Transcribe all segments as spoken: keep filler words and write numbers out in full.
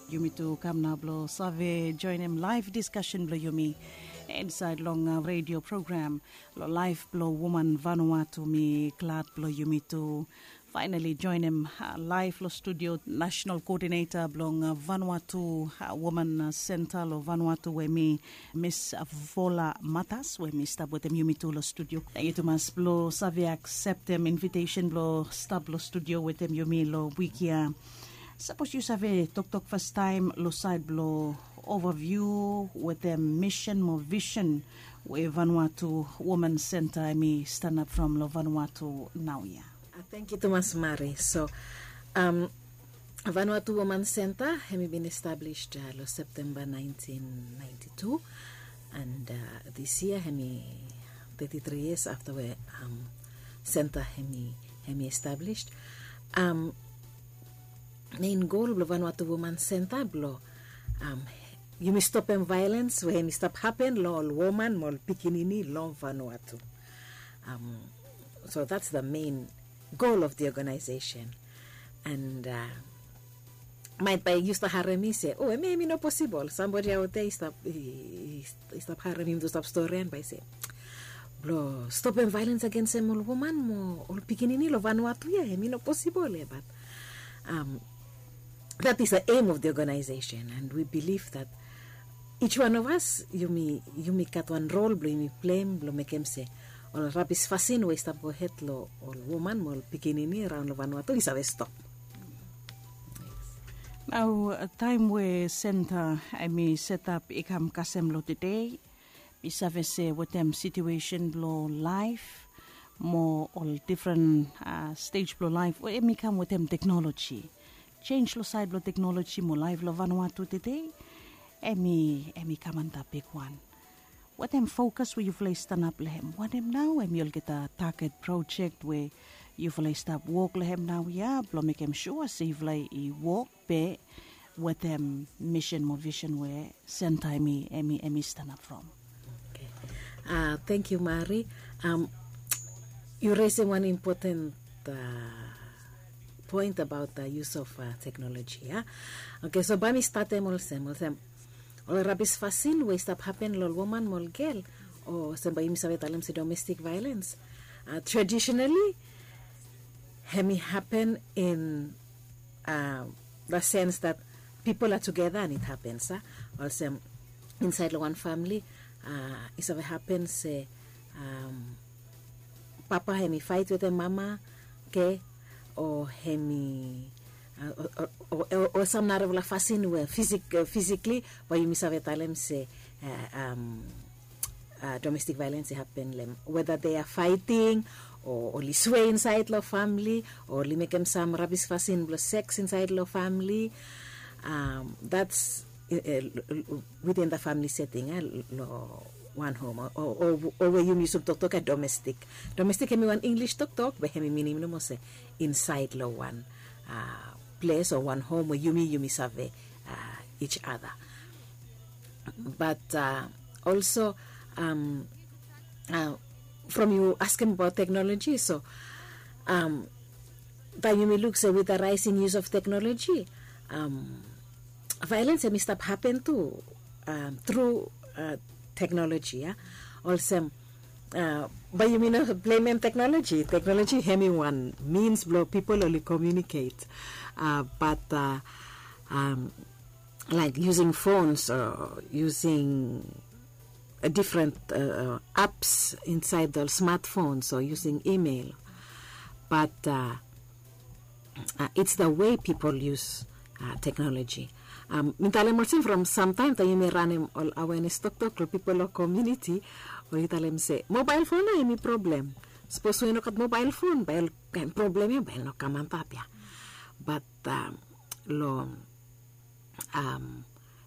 Yumi tu kam nao blong save joenem laef diskasen blong yumi insaed long redio program long laef blong woman Vanuatu. Mi glad blong yumi tu faenali joenem laef long studio, nasenal koodineta blong Vanuatu Woman Senta long Vanuatu, we mi Mis Vola Matas, we mi stap wetem yumi tu long studio. Tangkiu tumas blong save akseptem invitesen blong stap long studio wetem yumi long wik ya. Sapos yu save toktok fastaem long saed blong ovaviu wetem misen mo visen we Vanuatu Woman Senta hemi stanap from long Vanuatu naoia. Tangkiu tumas Mari. So, Vanuatu Woman Senta hemi bin establis long Septemba naentin naenti tu, and dis yia hemi teti tri yias afta we senta hemi establis. Mein gol blong Vanuatu Woman Senta blong yumi stopem vaelens we hemi stap hapen long ol woman mo ol pikinini long Vanuatu. So that's the main goal of the organization. And maet bae yu stap harem mi se, o, hemia hemi no posibol. Sambodi aote i stap harem yumi tu stap storian bae se blong stopem vaelens agensem ol woman mo ol pikinini long Vanuatu ya, hemi no posibol ya. But that is the aim of the organization, and we believe that each one of us yumi gat wan rol blong yumi pleim blong mekem se ol rabis fasin we i stap gohed long ol woman mo ol pikinini raon long Vanuatu i save stop. Nao taem we senta hemi setap i kam kasem long tede, mi save se wetem situesen blong laef mo ol difren stej blong laef we hemi kam wetem teknoloji, jenj long saed blong teknoloji mo laef long Vanuatu tede, hemi kam antap bigwan. Wetem fokas we yufala i stanap long hem, wanem nao hemi olgeta taget projek we yufala i stap wok long hem naoia blong mekem sua se yufala i wok be wetem misen mo visen we senta hemi stanap from? Tangkiu Mari. Yu resem wan impoten poen abaot use of teknoloji ya. Oke, so bae mi statem olsem, olsem ol rabis fasin we i stap hapen long ol woman mo ol gel, o olsem bae yumi save talem se domestik vaelens, tradisenali hemi hapen in the sense that people are together and it happens. Olsem insaed long wan famili i save hapen se papa hemi faet wetem mama, oke, o hemi o sam narafala fasin we fisikli bae yumi save talem se domestik vaelens i hapen long hem, weda they are fighting o oli swe insaed long famili o oli mekem sam rabis fasin blong seks insaed long famili. That's within the family setting, long wan hom o we yumi yusum toktok ya domestik. Domestik hemi wan Inglis toktok be hemi minim nomo se insaed long wan ples o wan hom we yumi yumi save each other. But also from yu askem abaot teknoloji, so taem yumi luk se with the rising use of technology, violence hemi stap happen tu through technology ya. Olsem bae yumi no blamem technology. Technology hemi wan means blong pipol oli communicate, but like using phones or using different apps inside the smartphones or using email. But it's the way people use technology. Mi talem olsem from samtaem taem yumi ranem ol awareness toktok long pipol long community, oli talem se mobile phone nao hemi problem. Sapos we i no gat mobile phone bae ol kaen problem ya bae oli no kam antap ya. But long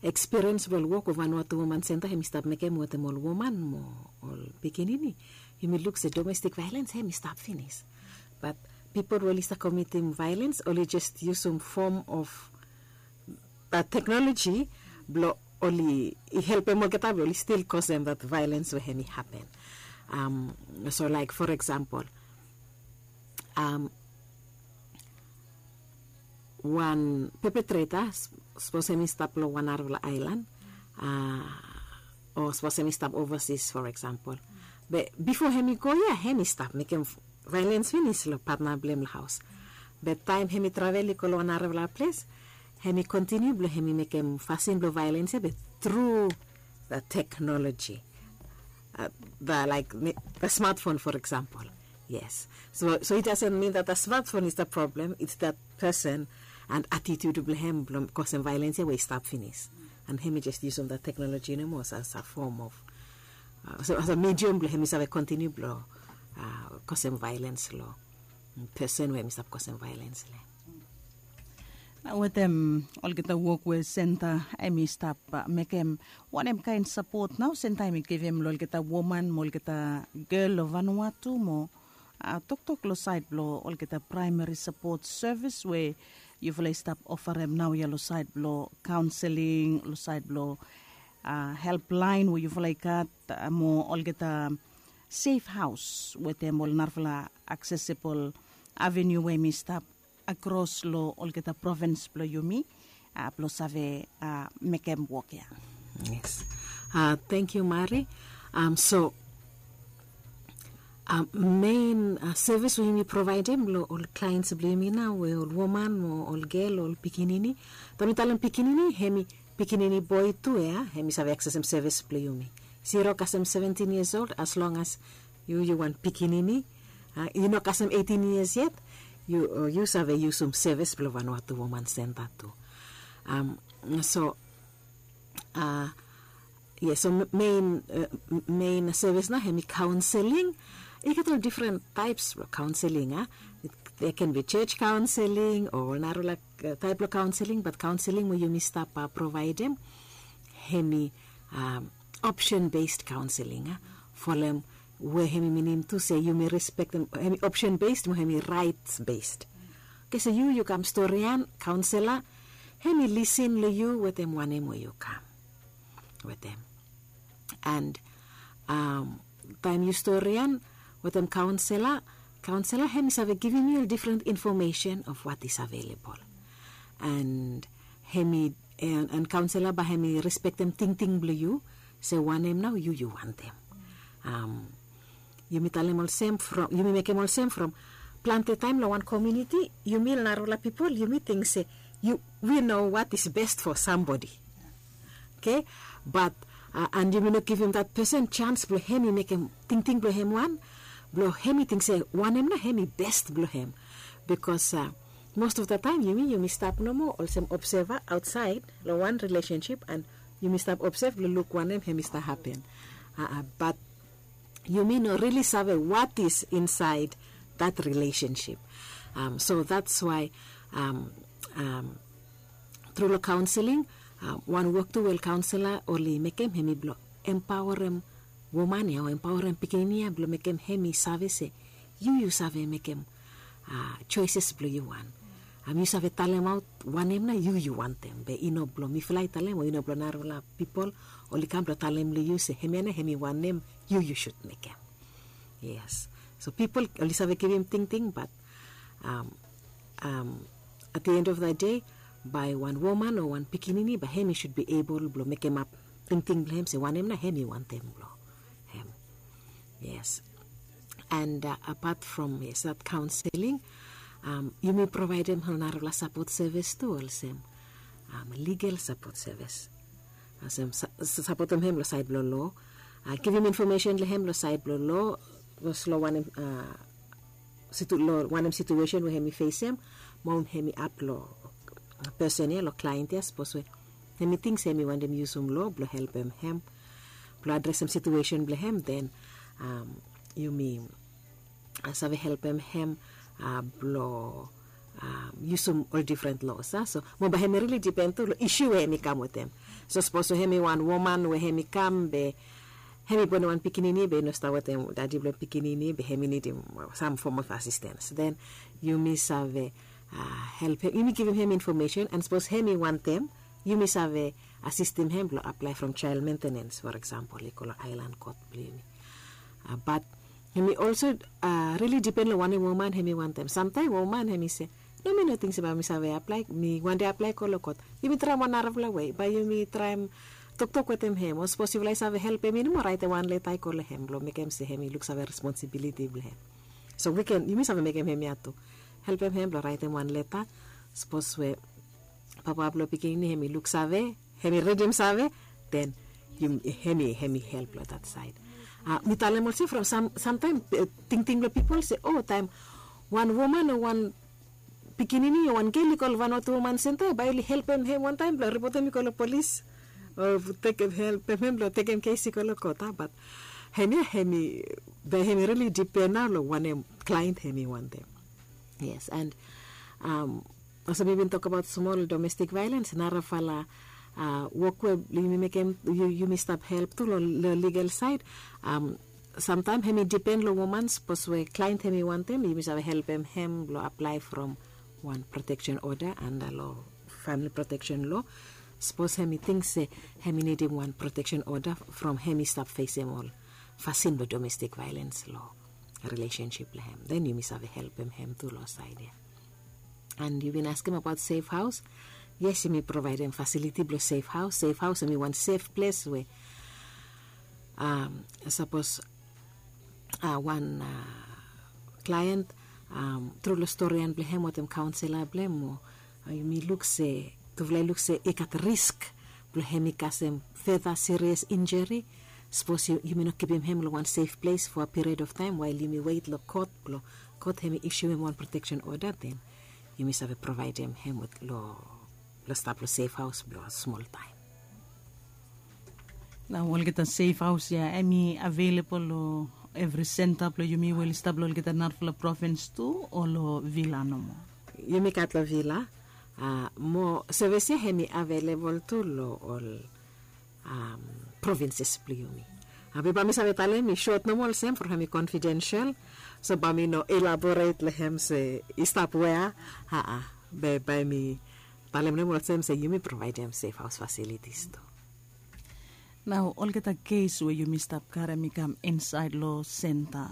experience blong ol wok we Vanuatu Woman Centre hemi stap mekem wetem ol woman mo ol pikinini, yumi luk se domestic violence hemi stap finis. But pipol we oli stap komitim violence oli jes yusum form of technology blong oli helpem olgeta blong oli stil kosem that violence we hemi hapen. So like for example, wan pepetreta, sapos em i stap long wan narafala ailan, o sapos em i stap ovasis, for example. Be bifo em i go ya, em i stap mekem vaelens finis long patna blong em long haos. Be taem em i travel i go long wan narafala ples, em i kontiniu blong em i mekem fasin blong vaelens ya be tru the technology, uh, the like the smartphone, for example. Yes. So, so it doesn't mean that the smartphone is the problem. It's that person and attitude blong em blong kosem vaelens ya we i stap finis. And em i just yusum the technology nomo as a form of, uh, so as a medium blong em i save kontiniu blong uh, kosem vaelens long person we em i stap kosem vaelens long em. Na wetem olgeta wok we senta em i stap mekem, wanem kaen sapot nao senta em i givim long olgeta woman mo olgeta gel long Vanuatu mo toktok long saed blong olgeta praemari sapot sevis we yufala i stap ofarem naoia long saed blong kaonseling, long saed blong helplaen we yufala i gat, mo olgeta sef haos wetem ol narafala aksesibol aveniu we em i stap akros long olgeta provins blong yumi blong save mekem wok ya. Yes. Thank you, Mari. So, mein sevis we yumi provaedem long ol klaens blong yumi nao we ol woman mo ol gel, ol pikinini. Taem mi talem pikinini, em i pikinini boe tu ya, em i save aksesem sevis blong yumi. Zero kasem seventin yias old, as long as yu yu wan pikinini, yu no kasem eitin yias yet, yu save yusum sevis blong Vanuatu Woman Center tu. So, yes, so mein sevis nao em i kaonseling. I gat ol difren taeps blong kaonseling. There can be church counseling o narafala taep blong kaonseling, bat kaonseling we yumi stap provaedem em i option based counseling. Folem we em i minim tu se yumi respektem, em i option based mo em i rights based. Oke, so yu yu kam storian, kaonsela em i lisin long yu wetem wanem we yu kam wetem. And taem yu storian wetem kaonsela, kaonsela em i save givim yu ol difren infomesen of what is available. And em i, and kaonsela bae em i respektem tingting blong yu, se wanem nao yu yu wantem. Yumi talem olsem from, yumi mekem olsem from plante taem long wan komuniti, yumi narafala pipol yumi ting se wi no what is best for somebody. Oke, bat and yumi no givim that person chance blong em i mekem tingting blong em wan, blong em i ting se wanem nao em i best blong em. Bikos most of the taem yumi yumi stap nomo olsem obseva aotsaed long wan rilesensip, and yumi stap obsev blong luk wanem em i stap hapen. Bat yumi no rili save what is insaed that rilesensip. So that's why tru long kaonseling, wan wok tu we ol kaonsela oli mekem em i blong empaorem woman ya o empaorem pikinini ya blong mekem em i save se yu yu save mekem soeses blong yu wan. Yu save talemaot wanem nao yu yu wantem, be i no blong mifala i talem o i no blong narafala pipol oli kam blong talem long yu se hemia nao em i wanem yu yu sud mekem. Yes. So pipol oli save givim tingting, bat at the end of the day, bae wan woman o wan pikinini bae em i sud bi ebol blong mekemap tingting blong em se wanem nao em i wantem blong em. Yes. And apat from, yes, that counseling, yumi provaedem ol narafala sapot sevis tu olsem legal sapot sevis. Olsem sapotem em long saed blong loa, givim infomesen long em long saed blong loa, sapos long wanem, long wanem situesen we em i fesem, mo em i ap long pesen ya, long klaen ya, sapos we em i ting se em i wantem yusum loa blong helpem em blong adresem situesen blong em, den yumi save helpem em blong yusum ol difren loas. So mo bae em i rili dipen tu long isu we em i kam wetem. So sapos we em i wan woman we em i kam be em i bonem wan pikinini be i no stap wetem dadi blong pikinini be em i nidim sam fom of asistens, den yumi save helpem, yumi givim em infomesen, and sapos em i wantem, yumi save asistem em blong aplae from jael mentenens, for example, i go long aelan kot blong yumi. Bat em i olso rili dipen long wanem woman em i wantem. Samtaem woman em i se No, mi no ting se bae mi save aplae, mi wande aplae go long kot. Yumi traem wan narafala wei, bae yumi traem toktok wetem hem, o sapos yufala i save helpem i no moa, raetem wan leta i go long hem blong mekem se hem i luksave responsibiliti blong hem. So we ken, yumi save mekem hemia tu. Helpem hem blong raetem wan leta, sapos we papa blong pikinini hem i luksave, hem i ridim save, den hem i, hem i help long dat saed. Mi talem olsem from sam, samtaem tingting blong pipol se, o, taem wan woman o wan pikinini o wan gel i go long wan o tu woman senta, bae oli helpem hem wantaem blong ripotem i go long polis, o tekem, helpem hem blong tekem kes i go long kot, a, bat hemia hem i, bae hem i rili dipen nao long wanem klaent hem i wantem. Yes, and olsem mi bin tokbaot smol, domestik vaelens narafala wok we yumi mekem, yumi stap help tu long ligal saed. Samtaem hem i dipen long woman, sapos we klaent hem i wantem, yumi save helpem hem blong aplae from wan proteksen oda anda long famili proteksen loa. Sapos hem i ting se hem i nidim wan proteksen oda from hem i stap fesem ol fasin blong domestik vaelens long rilesensip blong hem, den yumi save helpem hem tu long saed ya. And yu bin askem abaot sef haos. Yes, yumi provaedem fasiliti blong sef haos. Sef haos hem i wan sef ples we sapos wan klaen tru long storian blong hem wetem kaonsela blong hem, o yumi luk se, tufala i luk se i gat risk blong hem i kasem feta sirias injuri, sapos yumi no kipim hem long wan sef ples fo a piriod of taem wael yumi wet long kot blong kot hem i isiuem wan proteksen oda, den yumi save provaedem hem long stap long sef haos blong smol taem. Nao olgeta sef haos ya hem i avelebol long evri senta blong yumi we oli stap long olgeta narafala provins tu, o long Vila nomo? Yumi gat long Vila. Mo sevis ya hem i avelebol tu long ol provinses blong yumi. Be bae mi save talem i sot nomo olsem from hem i konfidensel, so bae mi no elaboret long hem se i stap wea. Aa, be bae mi talem nomo olsem se yumi provaedem sef haos fasilitis tu. Nao olgeta kes we yumi stap karem i kam insaed long senta,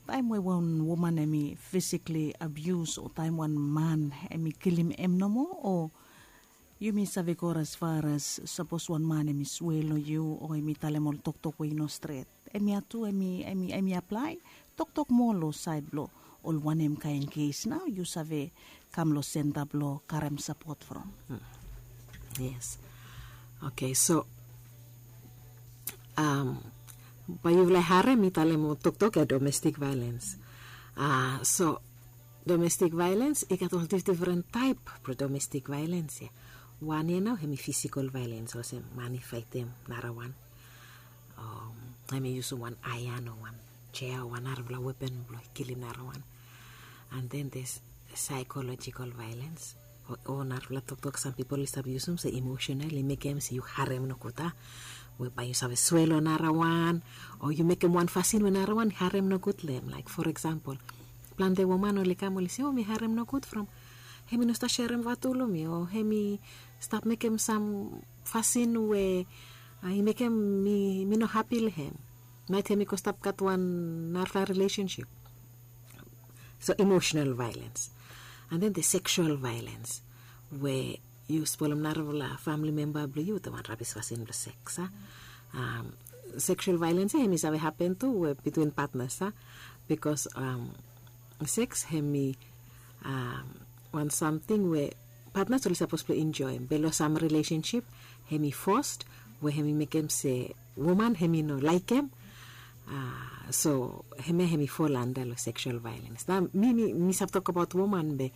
taem we wan woman hem i fisikli abius o taem wan man hem i kilim hem nomo, o yumi save go as far as sapos wan man hem i swe long yu o hem i talem ol toktok we i no stret, hemia tu hem i, hem i aplae? Toktok moa long saed blong ol wanem kaen kes nao yu save kam long senta blong karem sapot from? Yes. Oke, so bae yufala i harem mi talem ol toktok ya domestik vaelens. So domestik vaelens i gat ol difdifren taep blong domestik vaelens ya. Wan ya nao hem i fisikol vaelens, olsem man i faetem narawan, hem i yusum wan aean o wan jea o wan narafala wepan blong kilim narawan. And then there's psychological violence, o narafala toktok sam pipol i stap yusum se emotional, i mekem se yu harem nogud, a, we bae yu save swe long narawan, o yu mekem wan fasin we narawan i harem nogud long hem. Laek for eksampol, plante woman oli kam oli se, o mi harem nogud from hem i no stap serem vatu long mi, o hem i stap mekem sam fasin we i mekem mi no hapi long hem. Maet hem i go stap gat wan narafala rilesensip. So emotional violence. And then the sexual violence, we yu spolem narafala famili memba blong yu wetem wan rabis fasin blong seks, a. Sexual violence ya hem i save hapen tu we bitwin patnas, a, bikos seks hem i wan samting we patnas oli sapos blong enjoem, be long sam rilesensip hem i fos, we hem i mekem se woman hem i no laekem. So hemia hem i fol anda long sexual violence. Nao mi, mi save tokbaot woman, be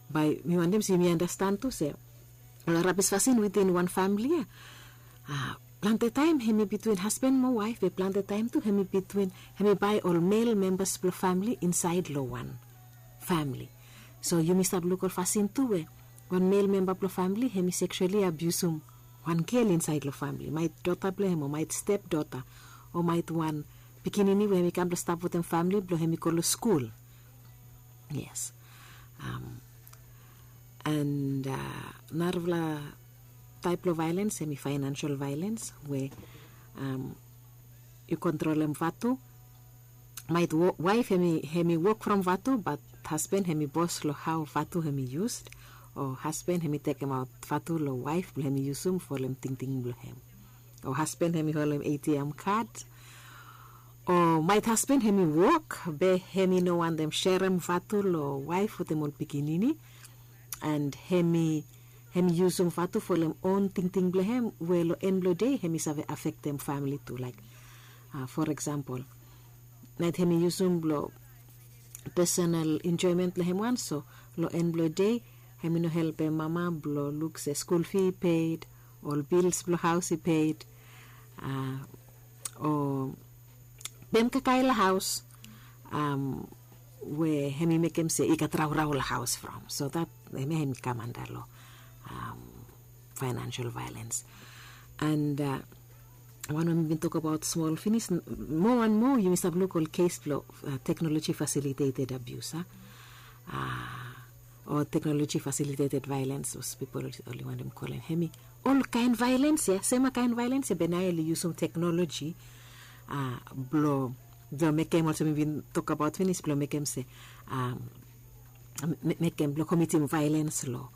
bae mi wantem se yumi andastan tu se ol rabis fasin within wan famili ya, plante taem hem i bitwin hasban mo waef, be plante taem tu hem i bitwin, hem i bae ol mel membas blong famili insaed long wan famili. So yumi stap luk ol fasin tu we wan mel memba blong famili hem i seksuali abiusum wan gel insaed long famili, maet dota blong hem o maet stepdota, o maet wan pikinini we hem i kam blong stap wetem famili blong hem i go long skul. Yes. And narafala taep blong vaelens hem i faenensel vaelens, we yu kontrolem vatu. Maet waef hem i wok from vatu, bat Hasben hem i bos long hao vatu hem i yus, o hasben hem i tekemaot vatu long waef blong hem i yusum folem tingting blong hem, o hasben hem i holem A T M kad, o maet hasben hem i wok be hem i no wantem serem vatu long waef wetem ol pikinini, and hem i hem i yusum vatu folem on tingting blong hem we long en blong dei hem i save afektem famili tu, laek, for eksampol, naet hem i yusum blong pesonal enjoemen blong hem wan, so long en blong dei hem i no helpem mama blong luk se skul fi i ped, ol bils blong haos i ped, o pem kakae long haos we hem i mekem se i gat raorao long haos from. So dat hemia hem i kam anda long financial violence. And wan we mi bin tokabaot smol finis, moa wan moa yumi stap luk ol kes blong teknoloji fasiliteted abius, a, o teknoloji fasiliteted vaelens, sapos pipol oli wantem kolem hemi olkaen vaelens ya, sema kaen vaelens ya be nao oli yusum teknoloji blong blong mekem olsem mi bin tokabaot finis blong mekem se, mekem blong komitim vaelens long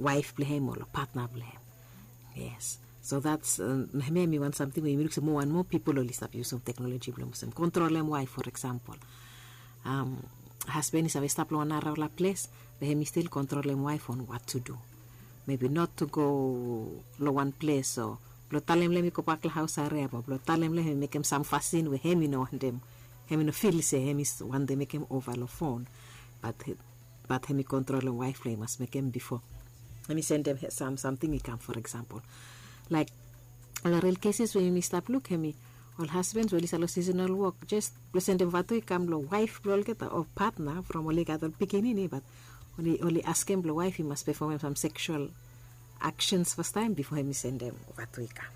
waef blong hem o long patna blong hem. Yes. So dats, hemia hemi wan samting we yumi luk se moa and moa pipol oli stap yusum teknoloji blong olsem kontrolem waef, for eksampol, hasben i save stap long wan naraola ples be hemi stil kontrolem waef on wat tu du. Mebi not tu go long wan ples o blong talem long hem i gobak long haos hariap o blong talem long hem i mekem sam fasin we hem i no wantem, hem i no fil se hem i wantem mekem ova long fon. Bat hem i kontrolem waef blong hem i mas mekem bifo hem i sendem sam samting i kam, for eksampol, laek ol ril keses we yumi stap luk hemi ol hasbens we oli stap long sisenal wok jes blong sendem vatu i kam long waef blong olgeta o patna from oli gat ol pikinini, bat oli askem blong waef i mas pefomem sam seksual aksens fastaem bifo hem i sendem vatu i kam.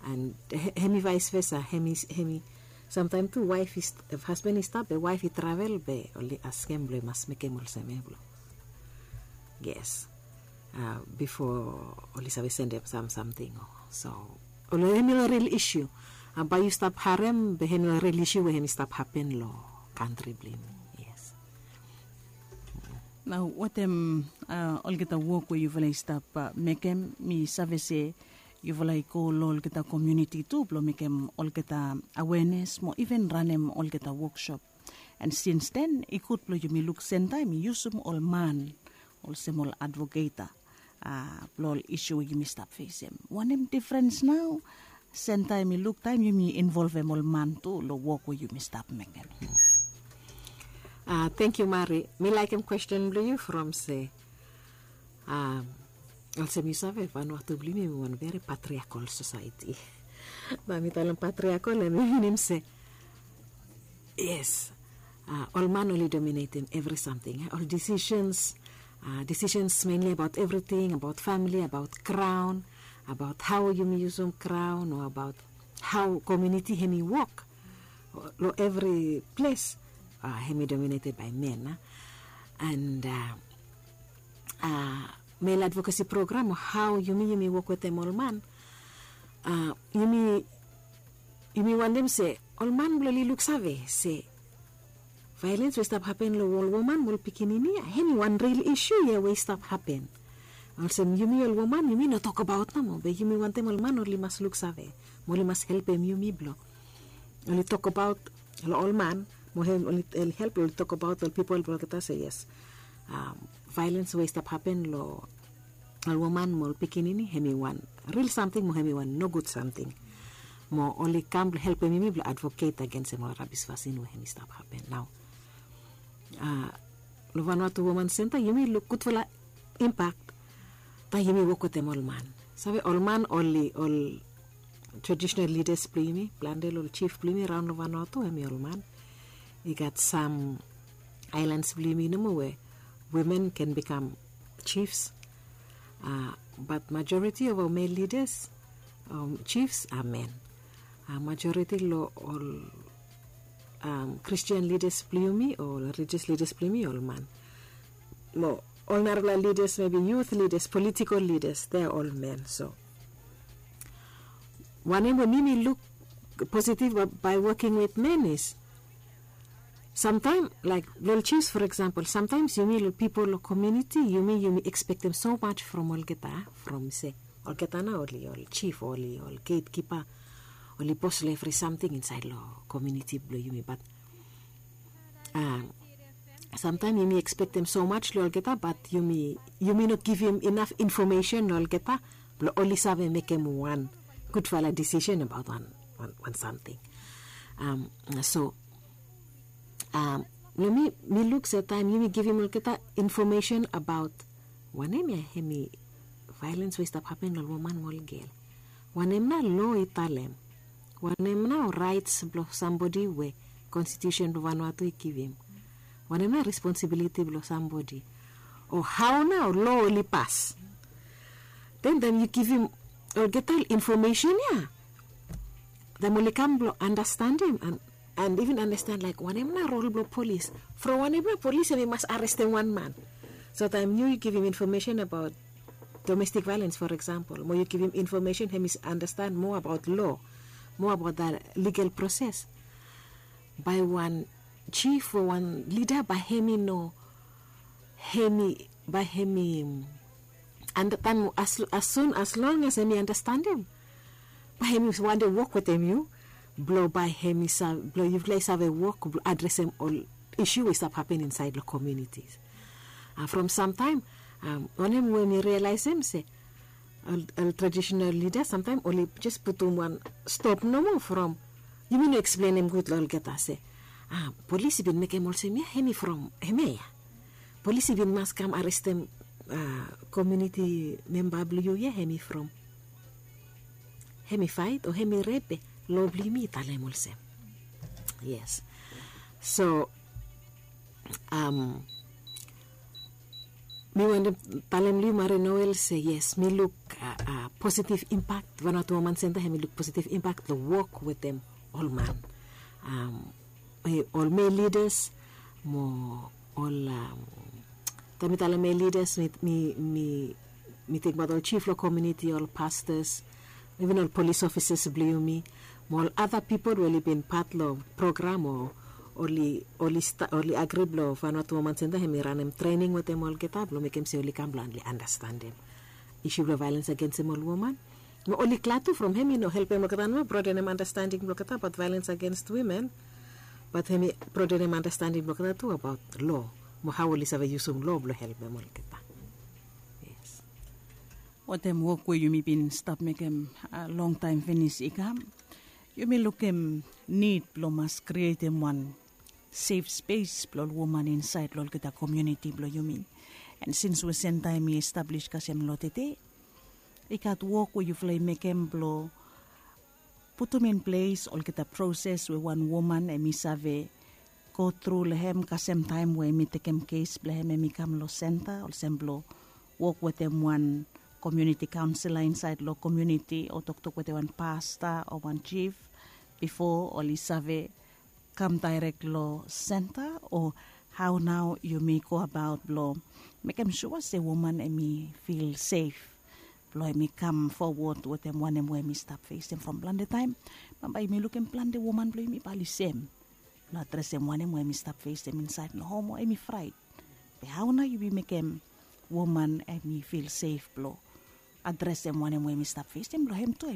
And hem i vaes vesa, hem i samtaem tu waef, hasben i stap be waef i travel be oli askem blong i mas mekem olsem ya blong, yes, bifo oli save sendem sam samting. So ol hemi ol ril isiu, bae yu stap harem be hemi ol ril isiu we hemi stap hapen long kantri blong yumi. Yes. Nao watem olgeta wok we yufala i stap mekem, mi save se yufala i go long olgeta komuniti tu blong mekem olgeta awenes mo iven ranem olgeta woksop. And sins den i gud blong yumi luk sentaem i yusum ol man olsem ol advoketa blong ol isiu we yumi stap fesem. Wanem difrens nao sentaem i luk taem yumi involvem ol man tu long wok we yumi stap mekem? Tengkiu Mari, mi laekem kwesten blong yu from se, olsem yu save Vanuatu blong yumi hemi wan veri patriakol sosaeti. Bae mi talem patriakol hemi minim se, yes, ol man oli dominetem evri samting, ol disisens, disisens menli abaot evriting, abaot famili, abaot kraon, abaot hao yumi yusum kraon o abaot hao komuniti hemi wok long evri ples, hemi domineted bae men. And mel advokesi program o hao yumi yumi wok wetem ol man, yumi yumi wantem se ol man blong oli luksave se vaelens we i stap hapen long ol woman mo ol pikinini ya hemi wan ril isiu ya we i stap hapen. Olsem yumi ol woman yumi no tokbaot nomo be yumi wantem ol man oli mas luksave mo oli mas helpem yumi blong oli tokbaot long ol man mo hem oli help long oli tokbaot long ol pipol blong olgeta se yes, vaelens we i stap hapen long ol woman mo ol pikinini hemi wan ril samting mo hemi wan nogud samting. Mo oli kam blong helpem yumi blong advoket agensem ol rabis fasin we hemi stap hapen nao. Long Vanuatu Woman Senta yumi luk gudfala impak taem yumi wok wetem ol man. Save ol man oli ol tradisonal lidas blong yumi, plante long ol jif blong yumi raon long Vanuatu hemi ol man. I gat sam aelans blong yumi nomo we wimen ken bikam jifs. Bat majoriti of ol mel lidas, jifs a men. Majoriti long ol Kristian lidas blong yumi o ol rilijias lidas blong yumi ol man. Mo ol narafala lidas mebi yut lidas, politikol lidas, de a ol men. So wanem we mi mi luk positiv bae woking wit men is Samtaem laik long ol chiefs, for example, sometimes yumi long pipol long community, yumi yumi expectem so much from olgeta, from se olgeta na oli ol chief, oli ol gatekeeper, oli bos long evri samting insait long community bilong yumi. But um, sometimes yumi expectem so much long olgeta, but yumi yumi no givim enough information long olgeta bilong oli save mekem wan gudfala decision about one, one, one something. Um, so um, long mi, mi luk se taem yumi givim olgeta information about wanem ya hemi violence we i stap happen long woman mo ol gel, wanem na lo i talem, wanem na rights bilong sambodi we constitution bilong Vanuatu i givim, wanem na responsibility bilong sambodi, o hau na lo oli pas. Then then yu givim olgeta information ya, taem oli kam bilong understandim and, and even understand like wanem na rol bilong polis, from wanem na polis em i mas arestim wan man. So taem yu givim information about domestic violence, for example, mo yu givim information em i understand more about law, more about the legal process, bai wan chief o wan leader bai em i no, em i bai em i understand as, as soon as long as em i understandim, bai em i wande wok wetem yu, bilong bai em i sa bilong yufala i save wok bilong adresim ol isu we i stap happen insait long communities. Uh, from samtaem um, wanem we mi realisim se ol, ol traditional leaders samtaem oli jes putum wan stop nomo from yumi no eksplenim gut long olgeta se ah, polis i bin mekem olsem ya em i from em ya. Polis i bin mas kam arestim ah, komuniti memba bilong yu ya em i from em i fait o em i rep, lo bilong yumi i talem olsem. Yes. So um, mi wantem talem long yu Maria Noel se yes, mi luk uh, uh, positive impact. Vanuatu Woman Center em i luk positive impact long wok wetem ol man, um, eh, ol male leaders mo ol um, taem mi talem male leaders mi, mi, mi, mi tingbaot ol chief long community, ol pastors, even ol police officers bilong yumi mo ol other people we oli bin pat long program o oli, oli, sta, oli agri bilong Vanuatu Woman Center em i ranim training wetem olgeta bilong mekem se oli kam bilong oli understandim isu bilong violence against em ol woman. Mo oli glad tu from em i no helpem olgeta nomo broadenem understanding bilong olgeta about violence against women, but em i broadenem understanding bilong olgeta tu about law mo hau oli save yusum law bilong helpem olgeta. Yes. Watem wok we yumi bin stap mekem uh, long taem finis i kam, yumi lukim nid bilong mas krietim wan safe space bilong ol woman insait long olgeta komuniti bilong yumi. And sins we senta em i establis kasem long tete, i gat wok we yufala i mekem bilong putum in ples olgeta proses we wan woman em i save go tru long hem kasem taem we em i tekem kes bilong hem em i kam long senta olsem bilong wok wetem wan komuniti kaunselor insait long komuniti o toktok wetem wan pasta o wan jif bipo oli save kam dairek long senta, o hau nao yumi go abaot blong mekem sua se woman em i fil sef blong em i kam fowod wetem wanem we em i stap fesim from plante taem? Bambae yumi lukim plante woman blong yumi bali sem blong adresem wanem we em i stap fesim insaed long hom o em i fraet. Be hau nao yumi mekem woman em i fil sef blong adresem wanem we em i stap fesim blong hem tu